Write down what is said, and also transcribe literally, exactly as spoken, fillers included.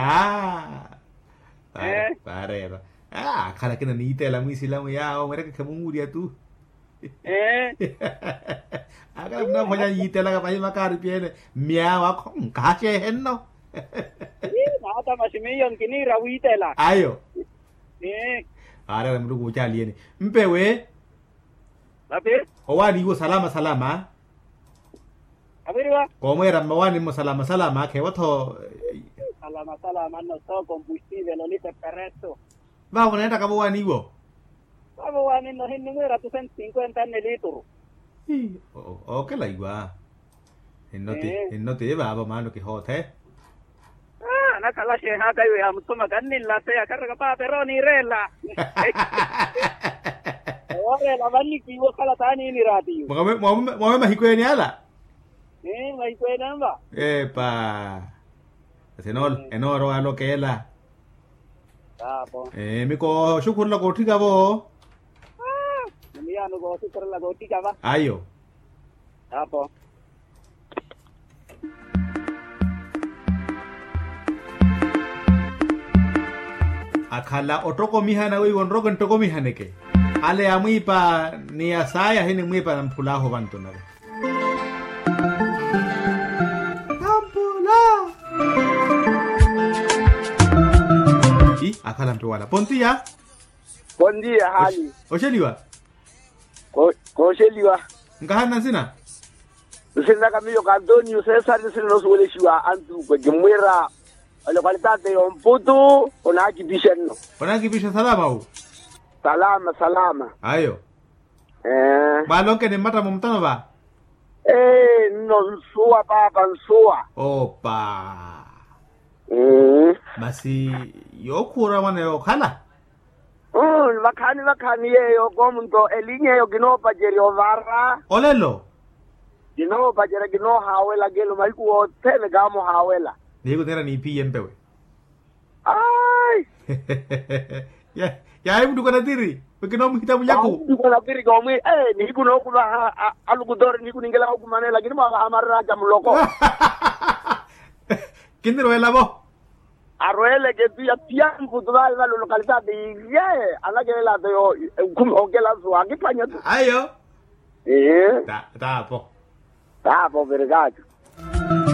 Aa. Paareera. Akhala akina niiteela mwiisilamu yaawo mweerekekhe munwurya tu. Akhala munaphwanya yiitelaka pahi makaari pyene. Mmyaawo akho nkahaxeehe nno. Naatamaxi miyo nkiniira wiitela ayo. Aareera muluku wucaaliyeni. Mpewe. Owaani iwo salama salama. Kooweera mmawaani mmo salama salama akheewa-tho. Salama salama nno sookompustiivelo litepereto. Vaavo oneettaka vowaani iwo? Vaavo waani nno hinnimwiira tu sentu sinkwenta nne liituru. Ookela iwa. Hinnoti hinnoti vaavo maano kihoothe. Anakhala axeehaka iwe yaamuthuma kanninlateya kharaka paapa ero oniireela. Ewooreela vannikiiwa okhala taaniiniraatiyo. Mwawe mahiku ene ala. Mahiku ene anva. Epa. Asi enoorowa alokeela. Taapo. Miko oxukhurela kootthika vo. Nimiyaano kooxukhurela kootthika va ayo. Taapo. Akhala ottokomihana weiwo nroke nttokomihaneke. Ale ya mwiipa ni ya saaya ahinimwiipa namphulaahu vantunave. Tampula. Akhala mpe wala pontiya. Pontiya haali. Oxeliwa. Kooxeliwa. Nkahanna nsina. Nsinaka miyo ka antonio cesar nsina noosuwelexiwa antuukwe kimmwiira. Ole kwalitaate yomputu. Onaakipixe nno. Onaakipixa salama wu. Salama salama. Ayo. Mwaalonkene mmatta mumutano va. Ee nno nsuwa paapa nsuwa. Opa. Masi yookhuura mwana yookhala. Vakhaani vakhaani yeeyo koomunto elinya eyo kinoopacerya ovara. Olelo. Kinoopacerya kinoohaawela kelo mahiku othene kaamuhaawela. Nihiku thera niiphiye mpewe. Ayi. Yaayi muttuka natiri we kinoomuhita mulyaku. Muttuka natiri koomwi. Nihiku nookhulwa alukutori nihiku ninkelaka okumanela lakini mwaavaha marira aca muloko. Kinirweela vo. Arweeleke tu ya piyampu tu vale vale olokalitati. Ye anakelela to yo. Okhumi okela suwa akiphwanya tu ayo. Taapo. Taapo virikaaco.